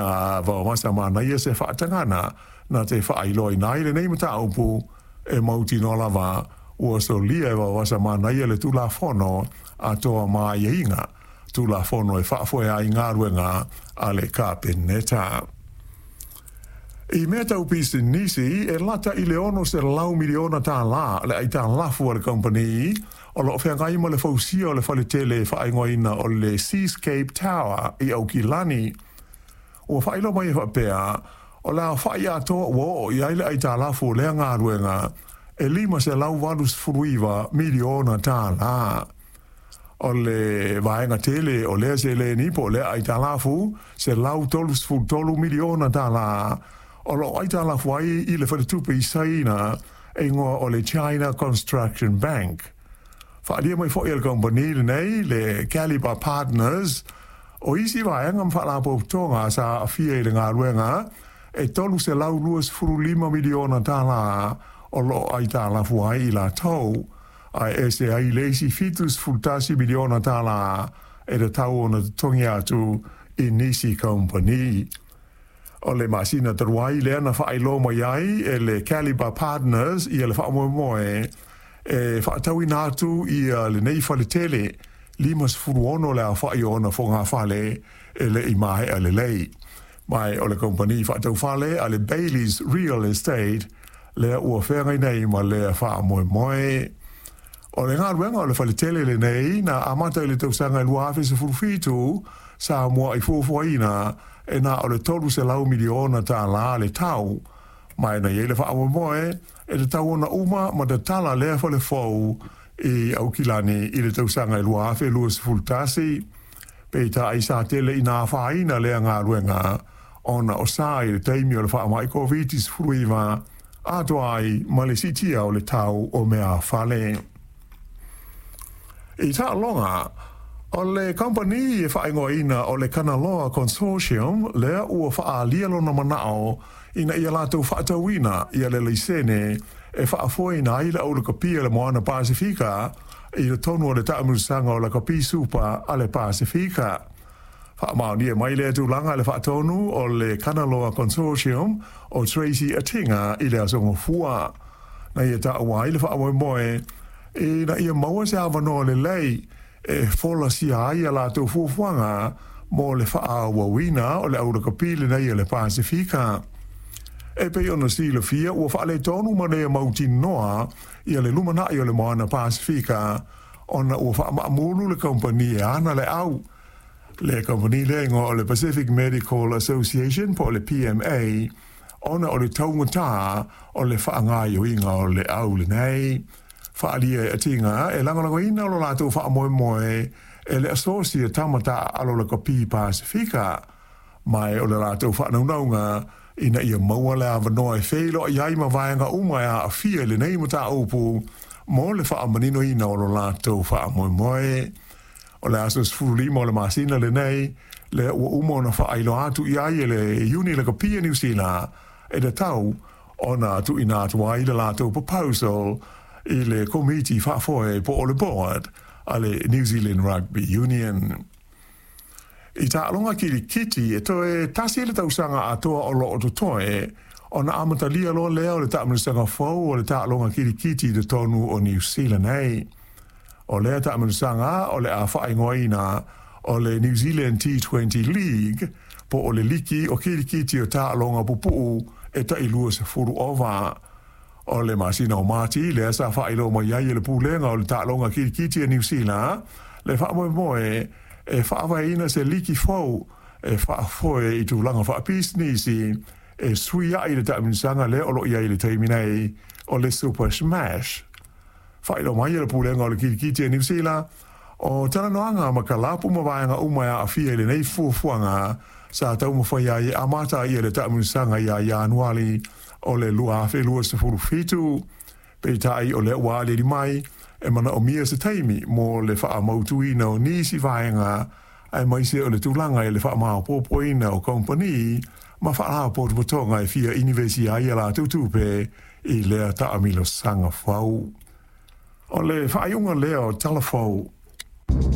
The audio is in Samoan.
A Vaovasa manaia se faatagana na te faailoaina ai lenei mataupu e mautinoa lava ua solia e Vaovasa manaia le Tulafono atoa ma aiaiga, Tulafono e faafoe ai galuega a le Kapeneta. I mea tau pisinisi, e lata i le $600 miliona tālā le aitalafu a le kamupani o lo o feagai ma le fausia o le faletele e faaigoaina o le Seascape Tower i Aukilani. Ua faailoa mai e faapea, o le aofa'i atoa ua oo i ai le aitalafu o lea galuega e $589 miliona tālā. O le vaega tele o lea seleni po o lea aitalafu, $133 miliona tālā, o lo o aitalafu ai i le faletupe i Saina e igoa o le China Construction Bank. Faaalia mai foi e le kamupani lenei, le Calibre Partners, o isi vaega ma faalapotopotoga sa aafia i le galuega e $325 miliona tālā o lo o aitalafu ai i latou, ae ese ai le isi $71 miliona tālā e tatau ona totogi atu i nisi kamupani. O le masina talu ai lea na faailoa mai ai e le Calibre Partners ia le faamoemoe e faatauina atu ia lenei faletele 56 le aofa'i o ona fogafale e le i maea lelei. Ma o le kamupani faataufale a le Bayleys Real Estate lea ua feagai nei ma lea faamoemoe. O le galuega o le faletele lenei na amata i le tausaga e 2017 sa mua'i fuafuaina e na o le $300 miliona tālā le tau, ma e na i ai le faamoemoe e tatau ona uma ma tatala lea fale fou i Aukilani i le tausaga e 2021. Peitai sa tele ina afaina lea galuega ona o sa i le taimi o le faamai Koviti-19 atoa ai ma le siitia o le tau o meaafale. I taaloga, o le kamupani e faaigoaina o le Kanaloa Consortium lea ua faaalia lona manao ina ia latou faatauina ia le laisene e faafoeina ai le aulakapi o le Moana Pasefika i totonu o le taamilosaga o Lakapi Supa a le Pasefika. Faamaonia mai lea tulaga e le faatonu o le Kanaloa Consortium o Tracy Atinga i le aso Gafua. Na ia taua ai le faamoemoe ina ia maua se avanoa lelei e folasia ai a latou fuafuaga mo le faaauauina o le aulakapi lenei a le Pasefika. E pei ona silafia ua faaletonu ma le mautinoa ia le lumanai o le Moana Pasefika ona ua faamaamulu le kamupani e ana le au. Le kamupani lea igoa o le Pacific Medical Association po o le PMA ona o le taugatā o le faagaoioiga o le au lenei. Faaalia e Atinga e lagolagoina lo latou faamoemoe e le Asosi a Tama Taaalo Lakapi Pasefika, ma o le latou faanaunauga ina ia maua le avanoa e feiloai ai ma vaega uma e aafia i lenei mataupu mo le faamaninoina o lo latou faamoemoe. O le aso 15 o le masina lenei lea ua uma ona faailoa atu i ai e le Iuni Lakapi a Niu Sila e tatau ona tuuina atu ai le latou proposal i le komiti faafoe po o le board a le New Zealand Rugby Union. I taaloga kilikiti, e toe tasi le tausaga atoa o lo o totoe ona amatalia loa lea o le taamilosaga fou o le taaloga kilikiti i totonu o Niu Sila nei. O lea taamilosaga o le a faaigoaina o le New Zealand T20 League po o le liki o kilikiti o taaloga pupuu e tai 20 ova. O le masina o Mati lea sa faailoa mai ai e le pulega o le taaloga kilikiti a Niu Sila le faamoemoe e faavaeina se liki fou e faafoe i tulaga faapisinisi e suiai le taamilosaga lea o lo o i ai i le taimi nei o le Super Smash. Faailoa mai e le pulega o le kilikiti a Niu Sila o talanoaga ma kalapu ma vaega uma e aafia i lenei fuafuaga sa taumafai ai e amata ia le taamilosaga ia Ianuali o le 2027. Peitai o lea ua aliali mai e manaomia se taimi mo le faamautuina o nisi vaega aemaise o le tulaga i le faamaopoopoina o kamupani ma faalapotopotoga e fia inivesi ai a latou tupe i lea taamilosaga fou. O le faaiuga lea o Tala Fou.